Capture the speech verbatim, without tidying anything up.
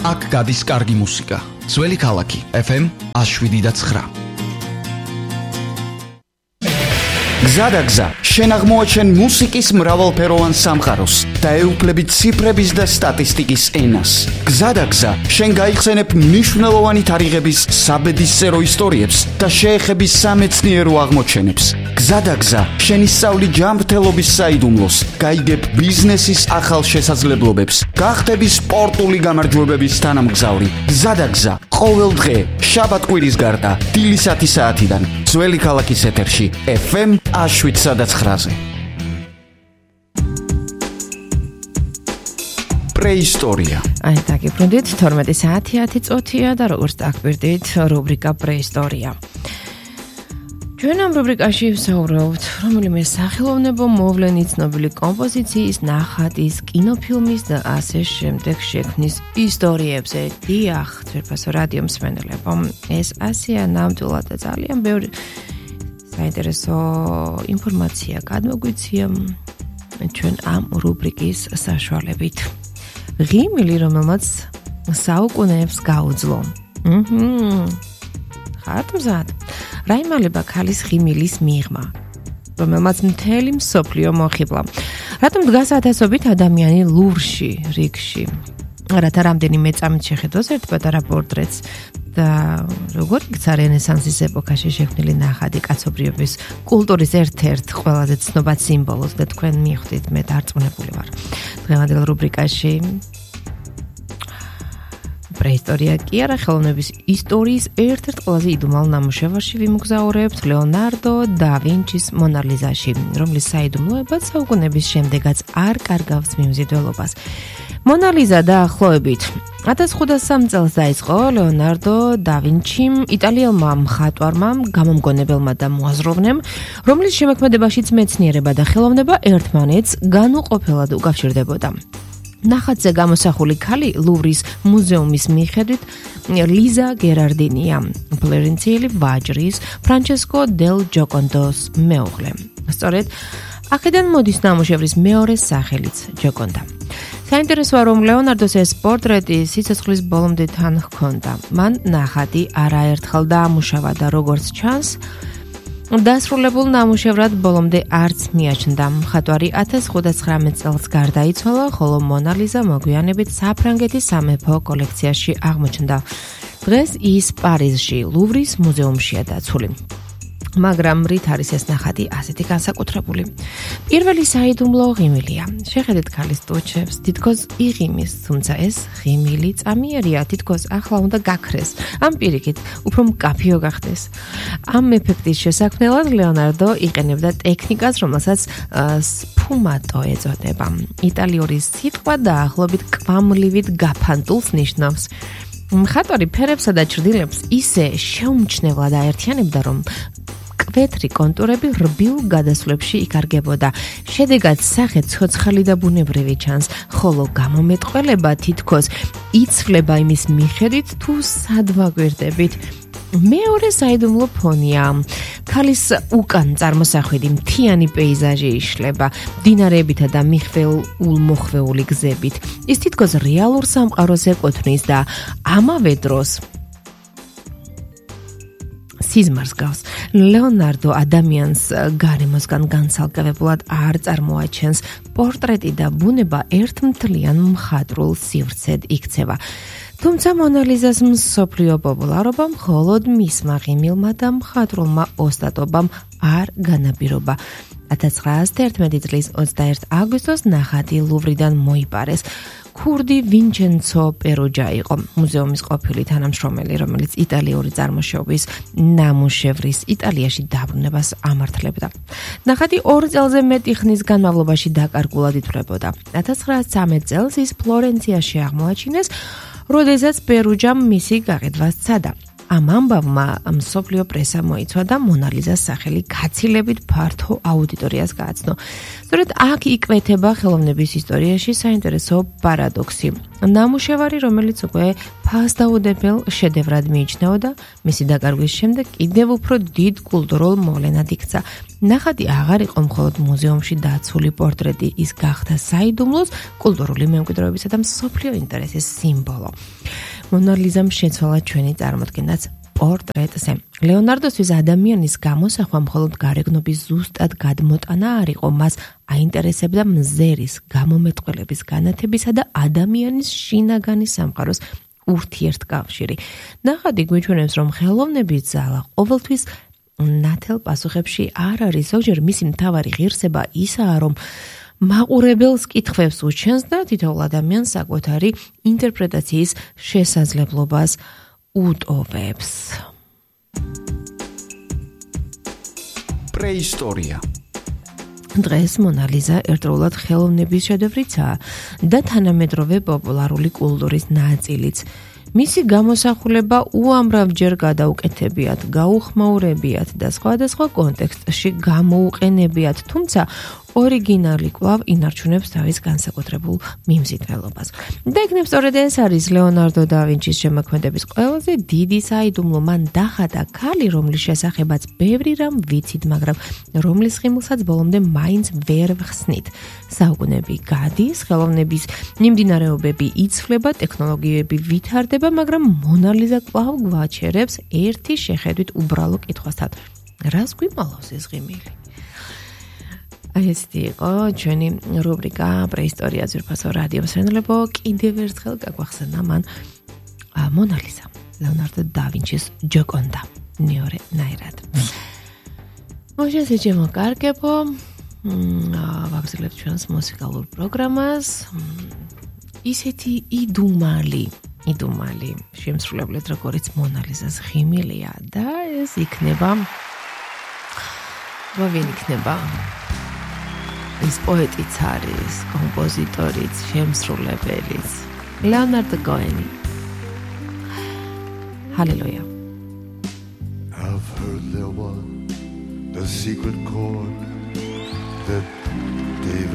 აქ გადის კარგი მუსიკა. ძველი ქალაქი ეფ ემ one oh seven point nine. გზადაგზა, შენ აღმოაჩენ მუსიკის მრავალფეროვან სამყაროს და ეუფლები ციფრების და სტატისტიკის ენას. გზადაგზა, შენ გაიხსენებ მნიშვნელოვანი თარიღების საბედისწერო ისტორიებს და შეეხები სამეცნიერო აღმოჩენებს. გზადაგზა, შენ ისწავლი ჯანმრთელობის საიდუმლოს, გაიგებ ბიზნესის ახალ შესაძლებლობებს, გახდები სპორტული გამარჯვებების თანამგზავრი. გზადაგზა, ყოველ დღე, შაბათ-კვირის გარდა, დილის ათი საათიდან, ძველი ქალაქის ეთერში, ეფ ემ one oh seven point nine. პრეისტორია. აი, დაგიბრუნდით, თორმეტი საათი ათი წუთია და როგორც დაგგვირდით, რუბრიკა პრეისტორია. ჩვენ ამ რუბრიკაში ვსაუბრობთ რომელიმე სახელოვნებო მოვლენის, ცნობილი კომპოზიციის, ნახატის, კინოფილმის და ასე შემდეგ შექმნის ისტორიებზე. დიახ, ძვირფასო რადიო მსმენელებო, ეს ასეა ნამდვილად და ძალიან ბევრი საინტერესო ინფორმაცია გადმოგვიცია ჩვენ ამ რუბრიკის საშუალებით. ღიმილი, რომელმაც საუკუნეებს გაუძლო. მჰმ. ხართ მზად? რა იმალება ქალის ღიმილის მიღმა, რომელმაც მთელი მსოფლიო მოხიბლა. რატომ დგას ათასობით ადამიანი ლუვრში, რიგში? რათა რამდენიმე წამით შეხედოს ერთ პატარა პორტრეტს და როგორ იქცა რენესანსის ეპოქაში შექმნილი ნახატი კაცობრიობის კულტურის ერთ-ერთ ყველაზე ცნობად სიმბოლოს და თქვენ მიხვდით, მე დარწმუნებული ვარ. დღევანდელ რუბრიკაში პრეისტორია კი არა, ხელოვნების ისტორიის ერთ-ერთ ყველაზე იდუმალ ნამუშევარში ვიმოგზაურებთ, ლეონარდო და ვინჩის მონა ლიზაში, რომლის საიდუმლოებაც საუკუნეების შემდეგაც არ კარგავს მიმზიდველობას. მონა ლიზა დაახლოებით ათას ხუთასი წელს დაიწყო ლეონარდო და ვინჩიმ, იტალიელმა მხატვარმა, გამომგონებელმა და მოაზროვნემ, რომლის შემოქმედებაშიც მეცნიერება და ხელოვნება ერთმანეთს განუყოფელად უკავშირდებოდა. ნახატზე გამოსახული ქალი ლუვრის მუზეუმის მიხედვით ლიზა გერარდინია, ფლორენციელი ვაჯრის ფრანჩესკო დელ ჯოკონდოს მეუღლე. სწორედ აქედან მოდის ნამუშევრის მეორე სახელიც ჯოკონდა. საინტერესოა, რომ ლეონარდოს ეს პორტრეტი სიცოცხლის ბოლომდე თან ჰქონდა. მან ნახატი არაერთხელ დაამუშავა და როგორც ჩანს, დასრულებულ ნამუშევრად ბოლომდე არც მიაჩნდა. მხატვარი ათას ოცდათხმეტ წელს გარდაიცვალა, ხოლო მონა ლიზა მოგვიანებით საფრანგეთის სამეფო კოლექციაში აღმოჩნდა. დღეს ის პარიზში, ლუვრის მუზეუმშია დაცული. მაგრამ რით არის ეს ნახატი ასეთი განსაკუთრებული? პირველი საიდუმლო ღიმილია. შეხედეთ ქალის ტუჩებს, თითქოს იღიმის, თუმცა ეს ღიმილი წამიერია, თითქოს ახლა უნდა გაქრეს. ამ პირიქით, უფრო მკაფიო გახდეს. ამ ეფექტის შესაქმნელად ლეონარდო იყენებდა ტექნიკას, რომელსაც სფუმატო ეწოდება. იტალიური სიტყვა დაახლოებით კვამლივით გაფანტულს ნიშნავს. მხატვარი ფერებსა და ჩრდილებს ისე შეუმჩნევლად აერთიანებდა, რომ კვეთრი კონტურები რბილ გადასვლებში იკარგებოდა. შედეგად სახე ცოცხალი და ბუნებრივი ჩანს, ხოლო გამომეტყველება თითქოს იცვლება იმის მიხედვით, თუ სად ვაგვირდებით. მეორე საიდუმლო ფონია. ქალის უკან წარმოსახვედი მთიანი პეიზაჟი იშლება, მდინარეებითა და მიხვეულ-მოხვეული გზებით. ის თითქოს რეალურ სამყაროს ეკუთვნის და ამავე დროს სიზმარს გავს. ლეონარდო ადამიანს გარემოსგან განცალკევებულად არ წარმოაჩენს. პორტრეტი და ბუნება ერთმთლიან მხატვრულ სივრცედ იქცევა. თუმცა მონა ლიზას მსოფლიო პოპულარობა მხოლოდ მისმა ღიმილმა და მხატვრულმა ოსტატობამ არ განაპირობა. ათას ცხრაასი თერთმეტი წლის ოცდაერთი აგვისტოს ნახატი ლუვრიდან მოიპარეს. ქურდი ვინჩენცო პერუჯა იყო მუზეუმის ყოფილი თანამშრომელი, რომელიც იტალიური წარმოშობის ნამუშევრის იტალიაში დაბრუნებას ამართლებდა. ნახატი ორ წელზე მეტი ხნის განმავლობაში დაკარგულად ითვლებოდა. ათას ცხრაასი ცხრამეტ წელს ის ფლორენციაში აღმოაჩინეს, როდესაც პერუჯამ მისი გაყიდვა სცადა. ამ ამბავმა მსოფლიო პრესა მოიცვა და მონალიზას სახელი გაცილებით ფართო აუდიტორიას გააცნო. სწორედ აქ იკვეთება ხელოვნების ისტორიაში საინტერესო პარადოქსი. ნამუშევარი, რომელიც უკვე ფასდაუდებელ შედევრად მიიჩნეოდა, მისი დაკარგვის შემდეგ კიდევ უფრო დიდ კულტურულ მოვლენად იქცა. ნახატი აღარ იყო მხოლოდ მუზეუმში დაცული პორტრეტი, ის გახდა საიდუმლოს, კულტურული მემკვიდრეობისა და მსოფლიო ინტერესის სიმბოლო. მონალიზამ შეცვალა ჩვენი წარმოდგენაც პორტრეტზე. ლეონარდოსთვის ადამიანის გამოსახვა მხოლოდ გარეგნობის ზუსტად გადმოტანა არ იყო, მას აინტერესებდა მზერის, გამომეტყველების, განათებისა და ადამიანის შინაგანი სამყაროს ურთიერთკავშირი. ნახატი გვიჩვენებს, რომ ხელოვნების ძალა ყოველთვის ნათელ პასუხებში არ არის. ზოგჯერ მისი მთავარი ღირსება ისაა, რომ მაყურებელს კითხვებს უჩენს და თითოეულ ადამიანს საკუთარი ინტერპრეტაციის შესაძლებლობას უტოვებს. პრეისტორია. დღეს მონალიზა ერთდროულად ხელოვნების შედევრიცაა და თანამედროვე პოპულარული კულტურის ნაწილიც. მისი გამოსახულება უამრავჯერ გადაუკეთებიათ, გაუხმაურებიათ და სხვადასხვა კონტექსტში გამოუყენებიათ, თუმცა ორიგინალი კვლავ ინარჩუნებს თავის განსაკუთრებულ მიმზიდველობას. და იქნებ სწორედ ეს არის ლეონარდო და ვინჩის შემოქმედების ყველაზე დიდი საიდუმლო. მან დახატა ქალი, რომლის შესახებაც ბევრი რამ ვიცით, მაგრამ რომლის ხიმლსაც ბოლომდე მაინც ვერ ვხსნით. საუკუნეები გადის, ხელოვნების მიმდინარეობები იცვლება, ტექნოლოგიები ვითარდება, მაგრამ მონალიზა კვლავ გვაჩერებს ერთი შეხედვით უბრალო კითხვასთან. რას გვიმალავს ეს ღიმილი? აი ესეთი იყო ჩვენი რუბრიკა პრეისტორია ძვირფასო რადიო მსმენელებო. კიდევ ერთხელ გაგვახსენა მან მონალიზა, ლეონარდო და ვინჩის ჯოკონდა მეორე ნაირად. მოშესე ჩემო კარგებო, ვაგრძელებთ ჩვენს მუსიკალურ პროგრამას. ისეთი იდუმალი იდუმალი შემსრულებლად როგორც მონალიზას ღიმილია და ეს იქნება ვინ იქნება? ის პოეტიც არის, კომპოზიტორიც, შემსრულებელიც, ლეონარდო კოენი. ჰალელუია. I've heard there was a secret chord that David